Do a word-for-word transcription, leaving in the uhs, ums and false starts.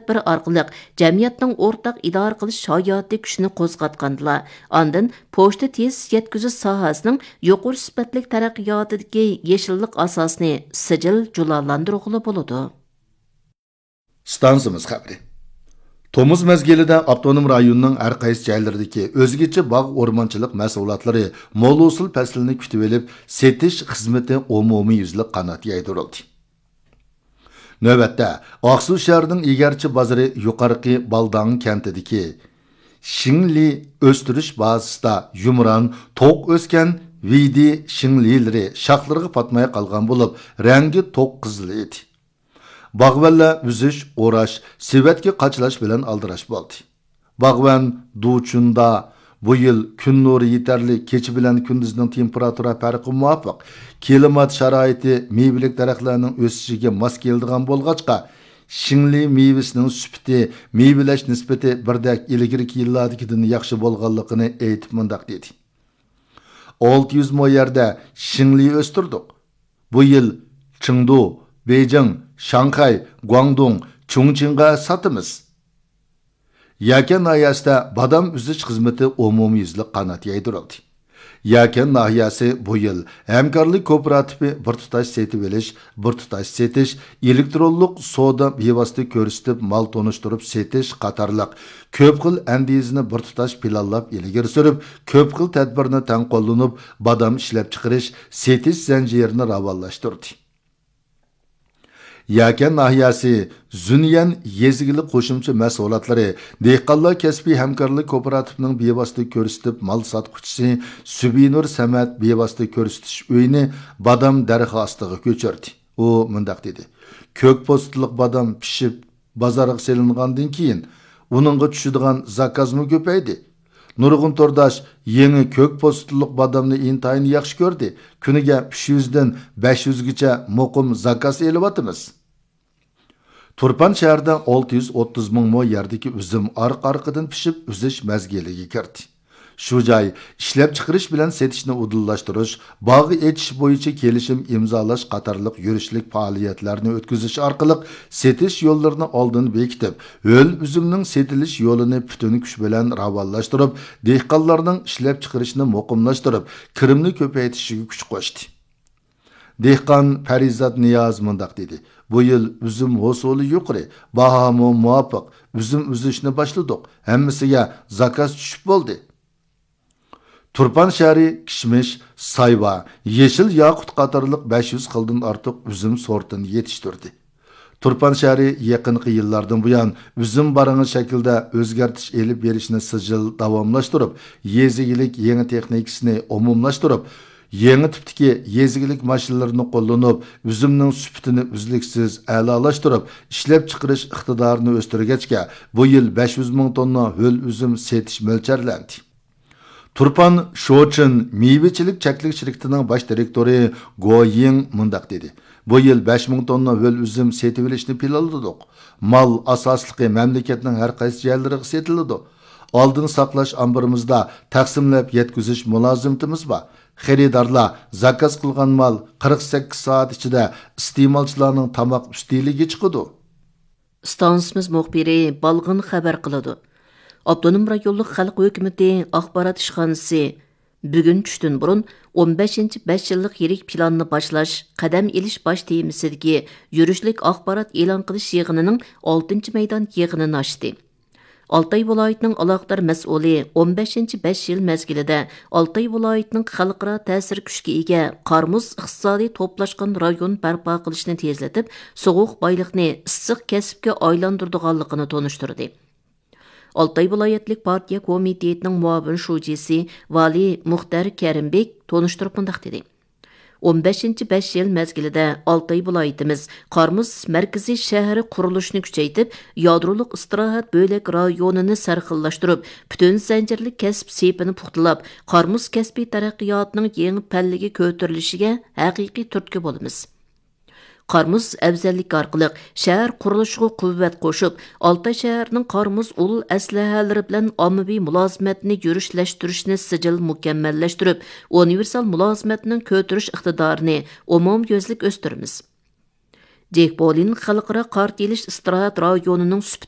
تەدبىر ئارقىلىق جەمئىيەتنىڭ ئورتاق ئىدارە قىلىش ھاياتىي كۈچىنى قوزغاتقاندىلا، ئاندىن پوچتا تېز يەتكۈزۈش ساھەسىنىڭ يۇقىرى سۈپەتلىك تەرەققىياتىدىكى يېشىللىق ئاساسىنى سىجىل جۇلالاندۇرغىلى بولىدۇ. ئىستانسىمىز خەۋىرى. تومۇز مەزگىلىدە ئاپتونوم رايوننىڭ ھەر قايسى جايلىرىدىكى ئۆزگىچە باغ ئورمانچىلىق مەھسۇلاتلىرى مول ھوسۇل پەسلىنى كۈتۈۋېلىپ، سېتىش خىزمىتى ئومۇميۈزلۈك قانات يايدۇرۇلدى. نۆۋەتتە، ئاقسۇ شەھىرىنىڭ ئېگەرچى بازىرى يۇقارقى بالداڭ كەنتىدىكى شىڭلى ئۆستۈرۈش بازىسىدا يۇمران، توق ئۆسكەن ۋىدى شىڭلىلىرى شاخلىرىغا پاتماي قالغان بولۇپ، رەڭگى توق قىزىل ئىدى. باغۋەنلەر ئۈزۈش، ئوراش، سېۋەتكە قاچىلاش بىلەن ئالدىراش بولدى. باغۋەن دۇچۇندا بۇ يىل كۈن نۇرى يېتەرلىك، كېچە بىلەن كۈندۈزنىڭ تېمپېراتۇرا پەرقى مۇۋاپىق، كىلىمات شارائىتى مېۋىلىك دەرەخلەرنىڭ ئۆسۈشىگە ماس كېلىدىغان بولغاچقا، شىڭلى مېۋىسىنىڭ سۈپىتى، مېۋىلەش نىسبىتى بىردەك ئىلگىرىكى يىللاردىكىدىن ياخشى بولغانلىقىنى ئېيتىپ مۇنداق دېدى. ئالتە يۈز مو يەردە شىڭلى ئۆستۈردۇق. بۇ يىل چېڭدۇ، بېيجىڭ، شاڭخەي، گۇاڭدۇڭ، چۇڭچىڭغا ساتىمىز. يەكەن ناھىيەسىدە بادام ئۈزۈش خىزمىتى ئومۇميۈزلۈك قانات يايدۇرۇلدى. يەكەن ناھىيەسى بۇ يىل ھەمكارلىق كوپىراتىپى بىر تۇتاش سېتىۋېلىش، بىر تۇتاش سېتىش، ئېلېكترونلۇق سودا بىۋاسىتە كۆرسىتىپ مال تونۇشتۇرۇپ سېتىش قاتارلىق كۆپ خىل ئەندىزىنى بىر تۇتاش پىلانلاپ ئىلگىرى سۈرۈپ، كۆپ خىل تەدبىرنى تەڭ قوللىنىپ، بادام ئىشلەپچىقىرىش، سېتىش زەنجىرىنى راۋانلاشتۇردى. يەكەن ناھىيەسى زۈنيەن يېزا ئىگىلىك قوشۇمچە مەھسۇلاتلىرى دېھقانلار كەسپىي ھەمكارلىق كوپىراتىپىنىڭ بىۋاسىتە كۆرسىتىپ مال ساتقۇچىسى سۈبىنۇر سەمەت بىۋاسىتە كۆرسىتىش ئۆيىنى بادام دەرىخى ئاستىغا كۆچۈردى. ئۇ مۇنداق دېدى: «كۆك پوستىلىق بادام پىشىپ، بازارغا سېلىنغاندىن كېيىن، ئۇنىڭغا چۈشىدىغان زاكازمۇ كۆپەيدى. نۇرغۇن تورداش يېڭى كۆك پوستىلىق بادامنى ئىنتايىن ياخشى كۆردى، كۈنىگە ئۈچ يۈزدىن بەش يۈزگىچە مۇقىم زاكاز ئېلىۋاتىمىز.» تۇرپان شەھىرىدە ئالتە يۈز ئوتتۇز مىڭ مو يەردىكى ئۈزۈم ئارقا-ئارقىدىن پىشىپ، ئۈزۈش مەزگىلىگە كىردى. شۇ جاي ئىشلەپچىقىرىش بىلەن سېتىشنى ئۇدۇللاشتۇرۇش، باغ ئېچىش بويىچە كېلىشىم ئىمزالاش قاتارلىق يۈرۈشلۈك پائالىيەتلەرنى ئۆتكۈزۈش ئارقىلىق سېتىش يوللىرىنى ئالدىن بېكىتىپ، ھۆل ئۈزۈمنىڭ سېتىلىش يولىنى پۈتۈن كۈچ بىلەن راۋانلاشتۇرۇپ، دېھقانلارنىڭ ئىشلەپچىقىرىشنى مۇقىملاشتۇرۇپ، كىرىمنى كۆپەيتىشىگە كۈچ قوشتى. دېھقان پەرىزات نىياز مۇنداق دېدى: «بۇ يىل ئۈزۈم ھوسۇلى يۇقىرى، باھامۇ مۇۋاپىق، ئۈزۈم ئۈزۈشنى باشلىدۇق، ھەممىسىگە زاكاز چۈشۈپ بولدى.» تۇرپان شەھىرى كىشمىش، سايۋا، يېشىل ياقۇت قاتارلىق بەش يۈز خىلدىن ئارتۇق ئۈزۈم سورتىنى يېتىشتۈردى. تۇرپان شەھىرى يېقىنقى يىللاردىن بۇيان ئۈزۈم بارىڭى شەكلىدە ئۆزگەرتىش ئېلىپ بېرىشنى سىجىل داۋاملاشتۇرۇپ، يېزا ئىگىلىك يېڭى تېخنىكىسىنى ئومۇملاشتۇرۇپ، يېڭى تىپتىكى يېزا ئىگىلىك ماشىنىلىرىنى قوللىنىپ، ئۈزۈمنىڭ سۈپىتىنى ئۈزلۈكسىز ئەلالاشتۇرۇپ، ئىشلەپچىقىرىش ئىقتىدارىنى ئۆستۈرگەچكە، بۇ يىل بەش يۈز مىڭ توننا ھۆل ئۈزۈم سېتىش مۆلچەرلەندى. تۇرپان شوچىن مېۋىچىلىك چەكلىك شىركىتىنىڭ باش دىرېكتورى گو يىڭ مۇنداق دېدى: «بۇ يىل بەش مىڭ توننا ھۆل ئۈزۈم سېتىۋېلىشنى پىلانلىدۇق. مال ئاساسلىقى مەملىكەتنىڭ ھەر قايسى جايلىرىغا سېتىلىدۇ. ئالدىن ساقلاش ئامبىرىمىزدا تەقسىملەپ يەتكۈزۈش مۇلازىمىتىمىز بار. خېرىدارلار زاكاز قىلغان مال قىرىق سەككىز سائەت ئىچىدە ئىستېمالچىلارنىڭ تاماق ئۈستىلىگە چىقىدۇ.» ئىستانسىمىز مۇخبىرى بالغىن خەۋەر قىلىدۇ. ئاپتونوم رايونلۇق خەلق ھۆكۈمىتى ئاخبارات ئىشخانىسى بۈگۈن چۈشتىن بۇرۇن ئون بەشىنچى بەش يىللىق يىرىك پىلاننى باشلاش، قەدەم ئېلىش باش تېمىسىدىكى يۈرۈشلۈك ئاخبارات ئېلان قىلىش يىغىنىنىڭ ئالتىنچى مەيدان يىغىنىنى ئاچتى. ئالتاي ۋىلايىتىنىڭ ئالاقىدار مەسئۇلى ئون بەشىنچى بەش يىل مەزگىلىدە ئالتاي ۋىلايىتىنىڭ خەلقئارا تەسىر كۈچكە ئىگە قارمۇس ئىقتىسادىي توپلاشقان رايون بەرپا قىلىشنى تېزلىتىپ، سوغۇق بايلىقنى ئىسسىق كەسىپكە ئايلاندۇرىدىغانلىقىنى تونۇشتۇردى. ئالتاي ۋىلايەتلىك پارتىيە كومىتېتىنىڭ مۇئاۋىن شۇجىسى ۋالىي مۇختەر كەرىمبېك تونۇشتۇرۇپ مۇنداق دېدى: ئون بەشىنچى بەش يىل مەزگىلىدە ئالتاي ۋىلايىتىمىز قارمۇس مەركىزىي شەھىرى قۇرۇلۇشىنى كۈچەيتىپ، يادرولۇق ئىستىراھەت بۆلەك رايونىنى سەرخىللاشتۇرۇپ، پۈتۈن زەنجىرلىك كەسىپ سېپىنى پۇختىلاپ، قارمۇس كەسپىي تەرەققىياتىنىڭ يېڭى پەللىگە كۆتۈرۈلۈشىگە ھەقىقىي تۈرتكە بولىمىز. قارمۇز ئەۋزەللىكى ئارقىلىق شەھەر قۇرۇلۇشىغا قۇۋۋەت قوشۇپ، ئالتاي شەھىرىنىڭ قارمۇز ئۇل ئەسلىھەلىرى بىلەن ئاممىۋى مۇلازىمەتنى يۈرۈشلەشتۈرۈشنى سىجىل مۇكەممەللەشتۈرۈپ، ئۇنىۋېرسال مۇلازىمەتنىڭ كۆتۈرۈش ئىقتىدارىنى ئومۇميۈزلۈك ئۆستۈرىمىز. جېك بولىن خەلقئارا قارت ئېلىش ئىستىراھەت رايونىنىڭ سۈپىتى